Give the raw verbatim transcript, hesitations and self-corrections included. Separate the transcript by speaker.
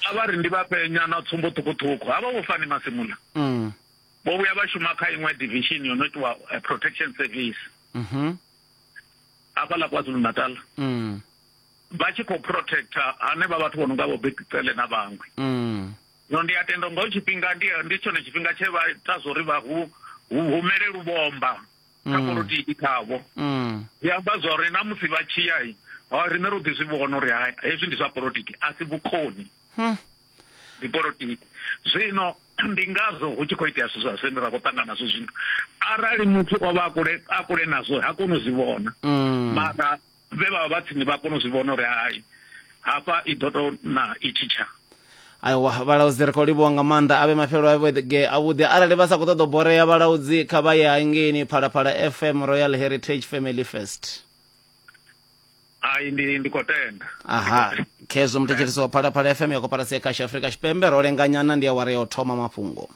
Speaker 1: A vha ri ndi vha fhe nyana tsumbo ṱhukhuṱhukhu, havha vho Fani Masemola
Speaker 2: Mm.
Speaker 1: vho vhuya vha shuma kha iṅwe division yo no itiwa eh, protection service
Speaker 2: Mhm.
Speaker 1: hafhaḽa KwaZulu Natal,
Speaker 2: Mm.
Speaker 1: vha tshi khou protecta hanevha vhathu vho no nga vho Bheki Cele na vhaṅwe.
Speaker 2: Mm.
Speaker 1: Zwino ndi a tenda nga tshifhinga ndi ndi tshone tshifhinga tshe vha ita zwori vha hu hu humele luvhomba kha
Speaker 2: Mm.
Speaker 1: polotiki khavho.
Speaker 2: Mm.
Speaker 1: Zwi amba zwori na musi vha tshi ya, ha riṋe ro ḓi zwi vhona uri hai, hezwi ndi zwa polotiki, a si vhukoni,
Speaker 2: Hmm.
Speaker 1: ndi polotiki. Zwino ndi ngazwo hu tshi khou itea zwithu zwa zwine ra khou ṱangana nazwo zwino. Arali muthu o vha a kule a kule nazwo, ha koni u zwi vhona,
Speaker 2: Mm.
Speaker 1: mara vhe vha vha vha tsini vha kona u zwi vhona uri hai, hafha i ḓo to na i tshi tsha.
Speaker 2: Aiwa, vhalaudzi, ri khou livhuwa nga maanḓa. Avhe mafhelo a vhege avhuḓi. Arali vha sa khou ṱoḓa u borea, vhalaudzi, kha vha ye hangeini Phalaphala F M, Royal Heritage Family Fest.
Speaker 1: Ai, ndi ndi khou tenda.
Speaker 2: Aha, khezwo muthetshelesi wa Phalaphala F M ya koporasi ya Khasho Afrika Tshipembe. Ro lenganyana, ndi awara ya u thoma mafhungo.